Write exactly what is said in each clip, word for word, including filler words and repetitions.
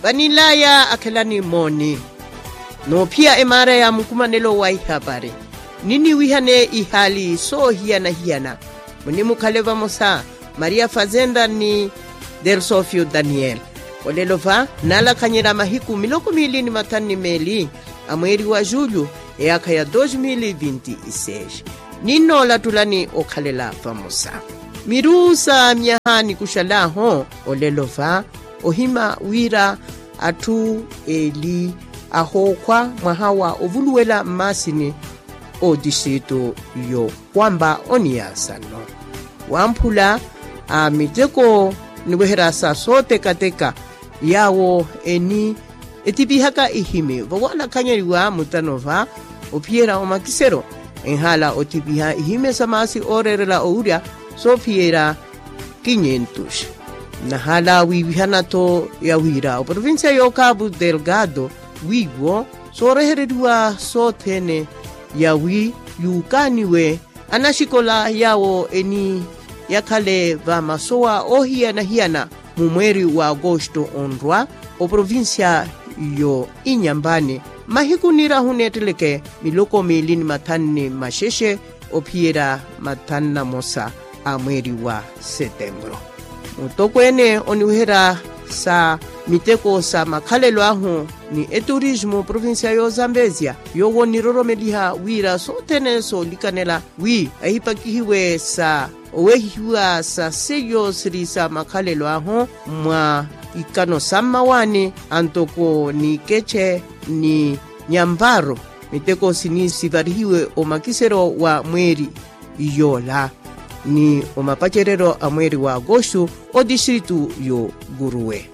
Vanilaya akhelani mooni noophiya emaara ya mukumanelo wa ihapari, niniwihane ihaali soohiyana-hiyana. Munimukhale vamosa, maria fazenda ni delsofio daniel. Olelo va nalakhanyela mahiku miloko miili ni mathanu ni meeli a mweeri wa julho, eyaakha ya dos mil vinti seis. Ninnoolattulani okhalela vamosa miruusa myaha nikuxalaaho. Olelo va ohima wira atthu eli ahookhwa mwaha wa ovuluwela mmaasini otistritu yo kwampa oniyasano wamphula a miteko niweherya sa sootekateka yaawo eni etipihaka ihimi vawaanakhanyeliwa mutano va ophiyerya omakisero enhaala otipiha ihimi sa maasi ooreerela owurya soophiyerya kinyentuxa. Nahaala wiivihana-tho ya wira oprovincia y'okapu delgado wiiwo soorehereriwa sothene yawi yuukaaniwe anaxikola yaawo eni yakhale va masowa oohiyana-hiyana mu mweeri wa agosto onrwa oprovincia yo inyampani mahiku nirahu neetteleke miloko miili ni mathanu ni maxexe ophiyerya mathanu na mosa a mweeri wa setembro. Mutokweene oniweherya sa miteko sa makhalelo ahu ni eturismu provincia y'ozambezia yoowo niroromeliha wira sothene soolikanela wi ahipakihiwe sa owehihiwa sa seiyo siri sa makhalelo ahu mwa ikano sa mmawaani antoko ni keche ni nyamparo. Miteko sini sivarihiwe omakisero wa mweeri yoola ni omapacereryo a mweeri wa agosto otistritu yo guruwe.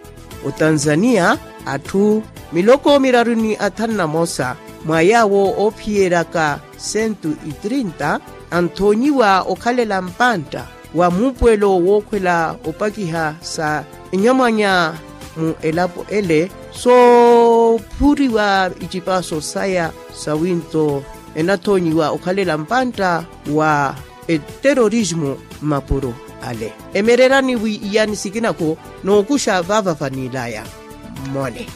Otanzania atthu miloko miraru ni athanu na mosa mwa yaawo oophiyeryaka sentu itrinta anthoonyiwa okhalela mpantta wa muupuwelo wookhwela opakiha sa enyamwanya mu elapo ele soophuriwa icipaaso saya sawinto enathoonyiwa okhalela mpantta wa eterorismu mmapuro ale. Emererani wi iyani sikinako nookuxa vaava vanilaya mmone.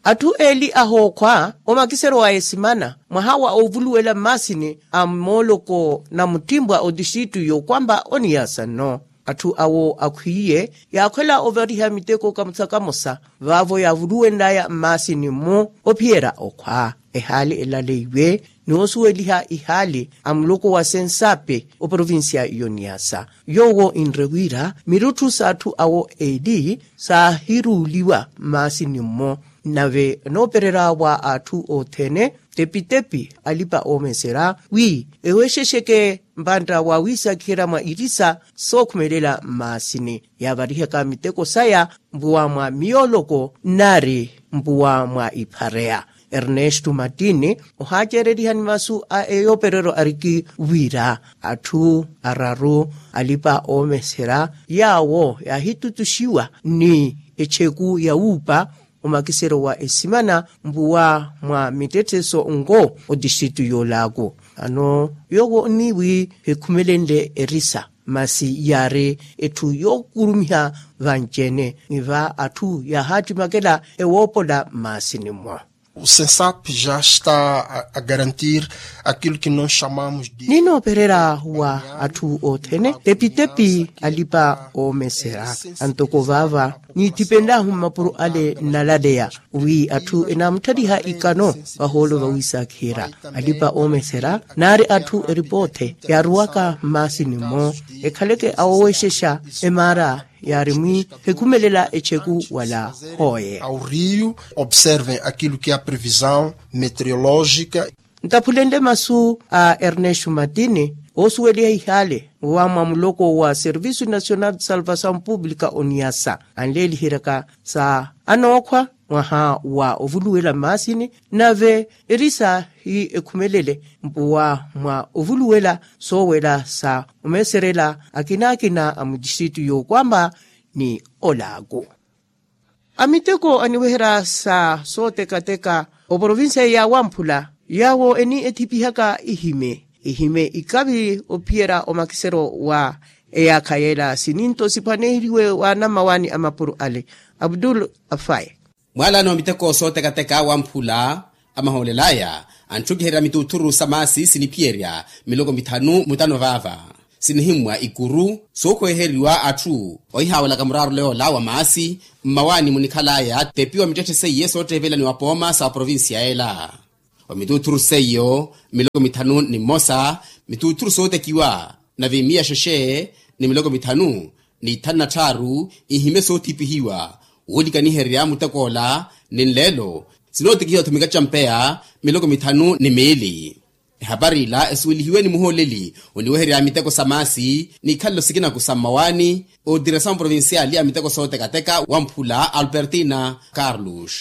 Atthu eli ahookhwa omakisero wa esimana mwaha wa ovuluwela mmaasini a mooloko na muttimpwa otistritu yookwampa oniyasa nno. Atthu awo akhwiiye yaakhwela ovariha miteko kamosa kamosa vaavo yaavuluwenlaya mmaasini mmo ophiyerya okhwa ehaali elaleiwe ni osuweliha ihaali a muloko wa sensape oprovincia y'oniyasa. Yoowo inre wira mirutthu s'atthu awo eli saahiruuliwa mmaasini mmo nave enoopererya wa atthu othene tepitepi alipa oomeserya wi eweexexeke mpantta wa wiisakiherya mwa irisa sookhumelela mmaasini yaavarihaka miteko saya mpuwa mwa miyooloko nari mpuwa mwa iphareya. Ernesto matini ohaaceererihani masu a eyoopereryo ariki wira atthu araru alipa oomeserya yaawo yaahitutuxiwa ni echeku ya wuupa omakisero wa esimana mpuwa mwa mittetthe so nko otistritu y'olaaku. Ano yoowo ni wi hikhumelenle erisa masi yaari etthu yookurumiha vanci-ene ni va atthu yaahaattimakela ewoopola mmaasini mmo. O sensap ja esta a garantir aquilo que nos chamamos de ninoopererya wa atthu othene tepitepi alipa oomeserya antoko vaava niithipenlahu mmapuro ale nnalaleya wi atthu enaamutthaliha ikano vahoolo vawiisakiherya alipa oomeserya nari atthu eripoothe yaaruwaka mmaasini mmo ekhaleke awoweexexa emaara yaari mwi hikhumelela echeku wala hooye ao rio observem aquilo que a previsão meteorológica. Ntaphulenle masu a ernesto matini oosuweliha ihaale wa mwa muloko wa serviço nacional de salvação pública oniyasa anleeliheryaka sa anookhwa mwaha wa ovuluwela mmaasini nave erisa hi ekhumelele mpuwa mwa ovuluwela soowela sa omeeserela akina-akina a mutistritu y'okwamba ni olaaku. Amiteko aniweherya sa sootekateka oprovincia ya wamphula yaawo eni ethipihaka ihime ihime ikavi ophiyerya omakisero wa eyaakha yeela sininto siphwaneheriwe wa anammawaani a mapuro ale. Abdul afai. Mwaalano wa miteko sootekateka wamphula amahoolelaya antthukiheriya mituuthuru sa maasi siniphiyerya miloko mithanu mutano vaava. Sinihimmwa ikuru sookhweheriwa atthu ohihaawelaka muraarule yoola wa maasi mmawaani munikhalaya tepiwa mittetthe seiye soottevelaniwa pooma sa provincia ela. Wa mituuthuru seiyo miloko mithanu ni mmosa mituuthuru sootekiwa na vimiya sheshe ni miloko mithanu ni thanu na tthaaru ihime soothipihiwa. Woolikaniherya mutekoola ni nleelo sinootekihiwa-tho mikacampeya miloko mithanu ni miili. Ehapari ila esuwelihiwe ni muhooleli oniweherya miteko sa maasi n'ikhalelo sikinaku sa mmawaani otiresa muprovinciali a miteko sootekateka wamphula albertina carlos.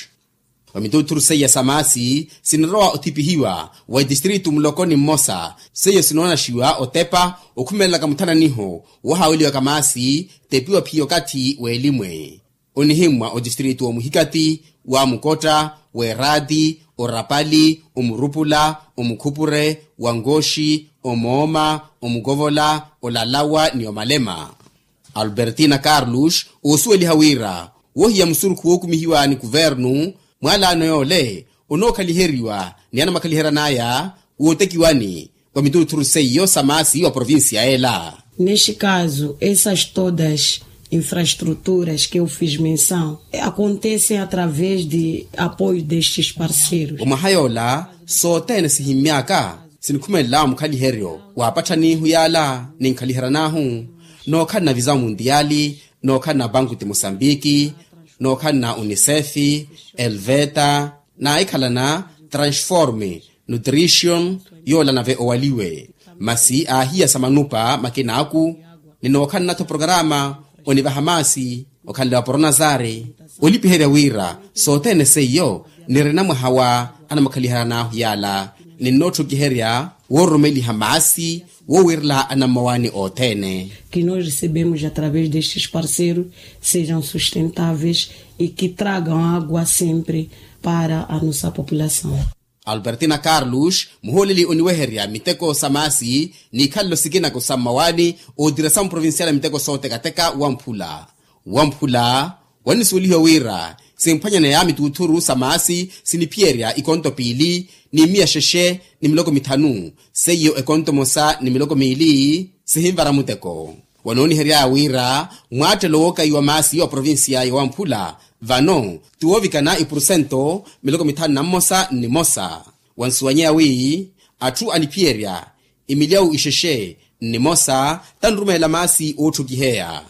Wa mituuthuru seiya sa maasi sinirowa othipihiwa wa etistritu muloko ni mmosa seiyo sinoonaxiwa otepa okhumelelaka muthananiho wohaaweliwaka maasi tepiwa phiya okathi w'elimwe. Onihimmwa otistritu omuhikati wa mukotta w'eraati orapali omurupula omukhupure wa nkooxi omooma omukovola olalawa ni omalema. Albertina carlos oosuweliha wira wohiya musurukhu wookumihiwa ni kuvernu mwaalaano yoole onookhaliheryiwa ni anamakhaliheryan'aya wootekiwani wa mituuthuru seiyo sa maasi wa provincia ela. Neste caso essas todas infraestruturas que eu fiz menção acontecem através de apoio destes parceiros. Omwaha yoola sothene sihimmy'aka sinikhumelela mukhaliheryo wa apatthanihu yaala ninkhaliheraan'ahu nookhalana visa mundiali nookhalana banku ti mosambiki nookhalana unicef elveta naahikhalana transforme nutrition yoola nave owaliwe masi aahiya sa manupa makin'aku. Ninookhalana-tho programa onivaha maasi okhalela wa poronazari olipiherya wira sothene seiyo nirina mwaha wa anamakhaliheryan'ahu yaala ninnootthukiherya woororomeliha maasi woowirela anammawaani othene. Que nós recebemos através destes parceiros sejam sustentáveis e que tragam água sempre para a nossa população. Albertina carlos muhooleli oniweherya miteko sa maasi n'ikhalelo sikinako sa mmawaani ootira sa muprovincial a miteko sootekateka wamphula wamphula. Wannisuwelihiwa wira simphwanyaneya mituuthuru sa maasi siniphiyerya ikonto piili ni miya xexe ni miloko mithanu seiyo ekonto mosa ni miloko miili sihinvara muteko. Wanooniheryaya wira mwaattelo wookaiwa maasi wa provincia ya wamphula vano ti woovikana ipurusento miloko mithanu na mmosa ni mosa. Wansuwanyeya wi atthu aniphiyerya imilyawu ixexe ni mosa tanrumeela maasi ootthukiheya.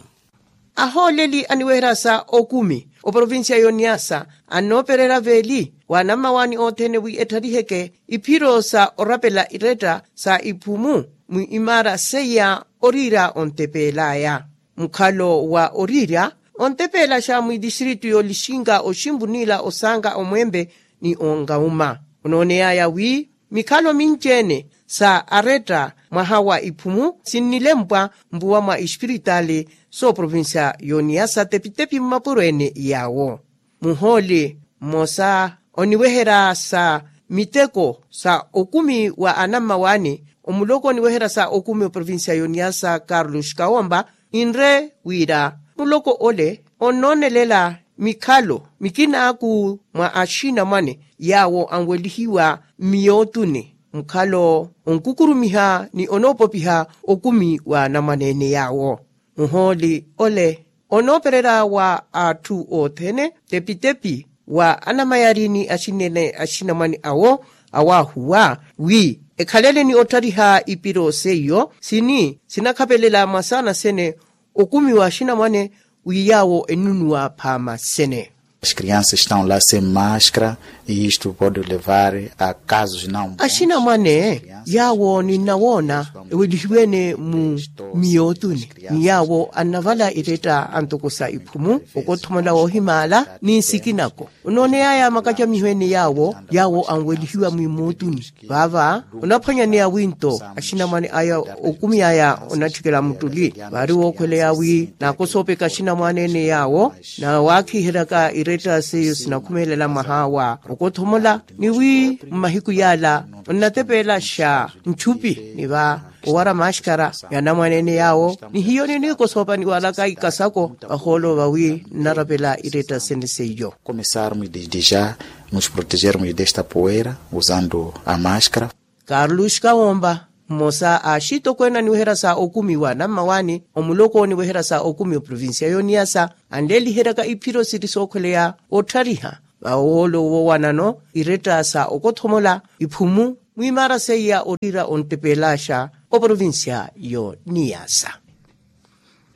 Ahooleli aniweherya sa okumi oprovincia y'oniasa annoopererya veeli wa anammawaani othene wi etthariheke iphiro sa orapela iretta sa iphumu mwi imaara seiya oriira ontepeel'aya. Mukhalo wa oriirya ontepeelaxa mwi distritu y'olixinka oximpu niila osanka omwempe ni onkauma. Onooney'aya wi mikhalo minci-ene sa aretta mwaha wa iphumu sinnilempwa mpuwa mwa ispiritali sooprovincia y'oniasa tepitepi mmapuro-ene yaawo. Muhooli mmosa oniweherya sa miteko sa okumi wa anammawaani omuloko oniweherya sa okumi oprovincia y'oniasa carlos kawompa ninre wira muloko ole onnoonelela mikhalo mikin'aku mwa axinamwane yaawo anwelihiwa mmiyootuni mukhalo onkukurumiha ni onoopopiha okumi wa anamwane-ene yaawo. Muhooli ole onoopererya wa atthu othene tepitepi wa anamayari ni axinene axinamwane awo awaahuwa wi ekhalele ni otthariha ipiro seiyo sini sinakhapelela mwasaana sene okumi wa axinamwane wi yaawo ennunuwa phaama sene. As crianças estão lá sem máscara e isto pode levar a casos não bons. Axinamwane yaawo ninnawoona ewelihiwe-ene mu miyootuni ni yaawo annavala iretta antokosa iphumu okothomola woohimaala ni nsikinako. Onooney'aya makacamiho-ene yaawo yaawo anwelihiwa mwi mootuni vaava onaphwanyaneya wi nto axinamwane aya okumi aya onatthikela muttuli vaari wookhweleya wi naakosoopeka axinamwane-ene yaawo na waakhiheryaka Etta seiyo sinakhumelela mwaha wa okothomola ni wi mmahiku yala onnatepeelaxa nchupi ni va owara maxkara ya anamwaneene yaawo ni hiyo niniiko soopaniwalaka ikasako vahoolo vawi nnarapela iretta sene seiyo. Começarmos desde já nos protegermos desta poeira usando a maxkara. Carlos kawomba mmosa a axitokweene aniweherya sa okumiwa na mmawaani omuloko oniweherya sa okumi oprovincia yoniyasa anleeliheryaka iphiro siri sookhweleya otthariha vawoolo wowanano iretta sa okothomola iphumu mwimaara seiya ottiira onttepeelaxa oprovincia yoniyasa.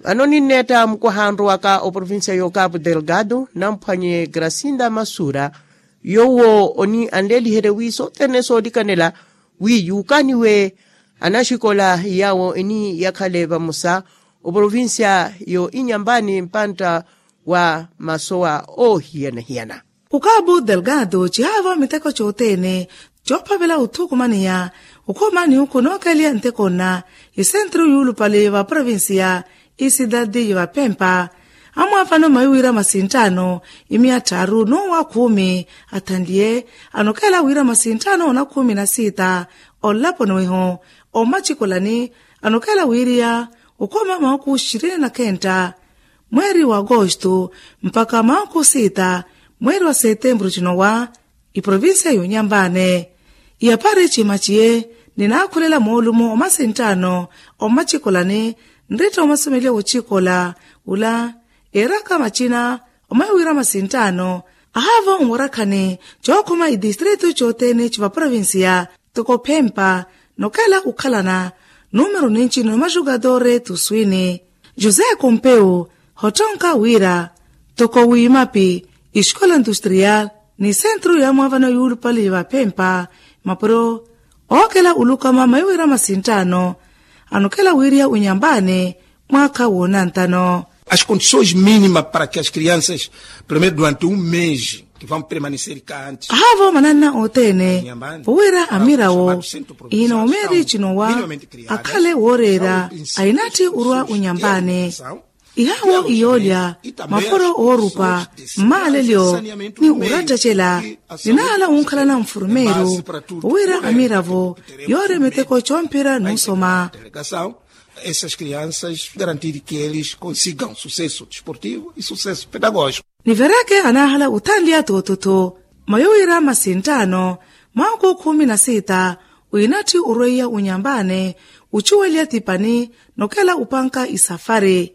Vano ninneetta mukwaha anrowaka oprovincia y'okapu delgado namphwanye gracinda masura yoowo oni anleeliherye wi sothene soolikanela wi yuukaniwe anaxikola yaawo eni yakhale vamosa oprovincia yo inyambani mpantta wa masowa oohiyana-hiyana. Okapu delgado cihaavo miteko cothene coophavela othukumaniya okhuma ni okhu nookeliya nteko nna isentru yuulupale va provincia isidadi ya vapempa amwaavano mayi wira masinttaano imiya tthaaru n'uwa khumi athanliye anokhela wira masinttaano ona khumi na sitta onlaponi weho omacikolani anokhela wiriya okhuma mahuku xirini na khentta mweeri wa agosto mpakha mahuku sitta mweeri wa setemburu cinowa iprovincia y'onyambane iyapari cimaciye ninaakhulela moolumo omasinttaano omacikolani nritta omasomeliya wocikola ula eeraka macina omaiwira masinttaano ahaavo onwarakhani cookhuma idistritu cothene civaprovincia toko phempa nokhela okhalana numero ninci nomaxukatore tuswini josé compeu hottonka wira toko wiimapi escola industrial ni centro ya mwaavano yuulupale ya vaphempa mapuro ookela olukama maiwira masinttaano anokhela wiriya winyambani mwaakha woonantano. As condições mínimas para que as crianças pelo menos durante um mês que vão permanecer cantes ahaavo mananna othene powira amirawo ihina omeeri cinowa akhale wooreera ainatthi orwa winyambani ihawo iyoolya mapuro oorupa mmaalelyo ni orattacela ninahala wunkhalana nfurumeeru owira amiravo yoorya miteko coomphira n'usoma essas crianças garantir que eles consigam sucesso desportivo e sucesso pedagógico. Nivereke anaahala othanliya tooto-tho mayo wira masinttaano mwaakhu khumi na sitta winatthi orweiya unyambane ucuweliya tipani nokhela upanka isafari.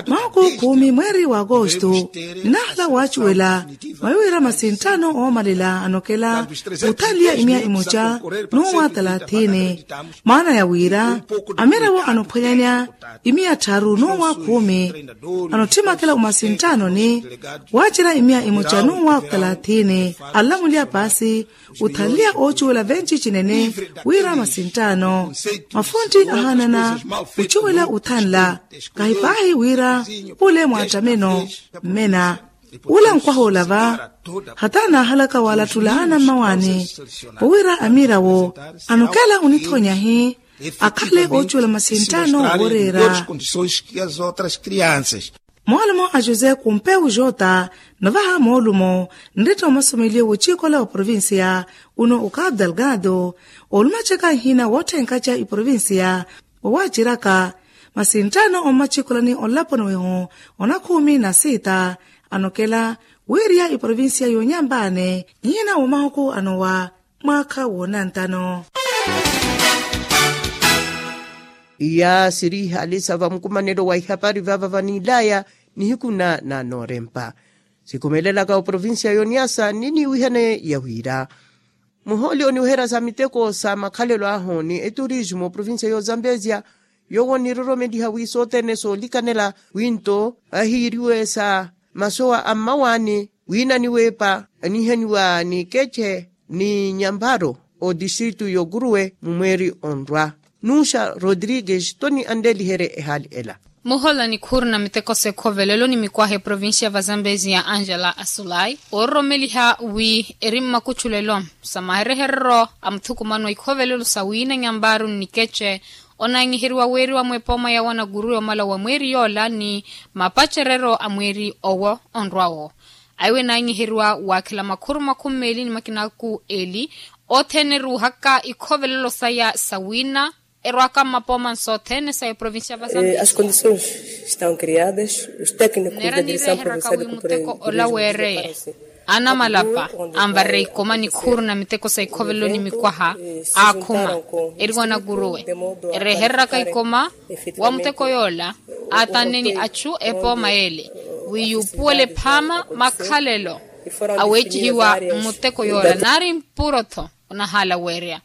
Mwaakhu khumi mweeri wa agosto ninahala waacuwela mayo wira masinttaano oomalela anokhela othanliya imiya imoca n'uwa talathini maana ya wira amiravo anophwanyanya imiya tthaaru n'uwa khumi anotthi makhela omasinttaanoni waacerya imiya imoca n'uwa talathini anlamuliya paasi othanliya oocuwela venci cinene wira masinttaano mafuntti ahaanana ocuwela othanla kahi paahi wira ole mwaattameno mmena ula nkwaha olava hata anaahalaka waalattula ana mmawaani powira amiira wo anokhela onithoonyahi akhale oocuwela masinttaano wooreera. Moolumo a josé kumpeu jota novaha moolumo nretta omasomeliye woocikola wa provincia uno okapu delgado oolumacaka nhina wootthenkaca iprovincia wowaaceraka masinttaano ommacikolani onlaponi weho onakhumi na sitta anokela wiiriya iprovincia yoonyambaane nhina womahuku anowa mwaakha woonantano. Iya siri ihaalisa va mukumanelo wa ihapari vava vanilaya nihiku na nanoorempa sikhumelelaka oprovincia yoniasa niniwihane ya wira muhooli oniweherya sa miteko sa makhalelo ahu ni eturismo oprovincia yozambezia yowo niroromeliha wi sothene soolikanela wi nto ahiiriwe sa masowa a mmawaani wiina niweepa anihaniwa ni keche ni nyamparo otistritu y'okuruwe mumweeri onrwa nuuxa rodrigues toni anleeliherye ehaali ela. Muhola nikhuurina miteko s'ekhovelelo ni mikwaha eprovincia va zambezia angela asulai oororomeliha wi eri mmakuchulelo sa mahereherero a muthukumano a ikhovelelo sa wiina nyamparo ni nikeche Onaanyiheriwa weeriwa mwepooma ya wanaguruwe omala wa mweeri yoola ni mapacereryo a mweeri owo onrwa-wo. Aiwe naanyiheriwa waakhela makhuru makhumi meeli ni makinaku eli othene eruuhaka ikhovelelo saya sa wiina erwaaka mmapooma nsothene sa eprovincia vasantisi. Neera niireheraka wi muteko ola weereye anamalapa anvarerya ikoma ni khuuruna miteko sa ikhovelelo ni mikwaha aakhuma eriwa nakuruwe erehereraka ikoma wa muteko yoola aatanne ni achu epooma yeele wi yuupuwele phaama makhalelo aweecihiwa mmuteko yoola naari mpuro-tho onahaala weerya.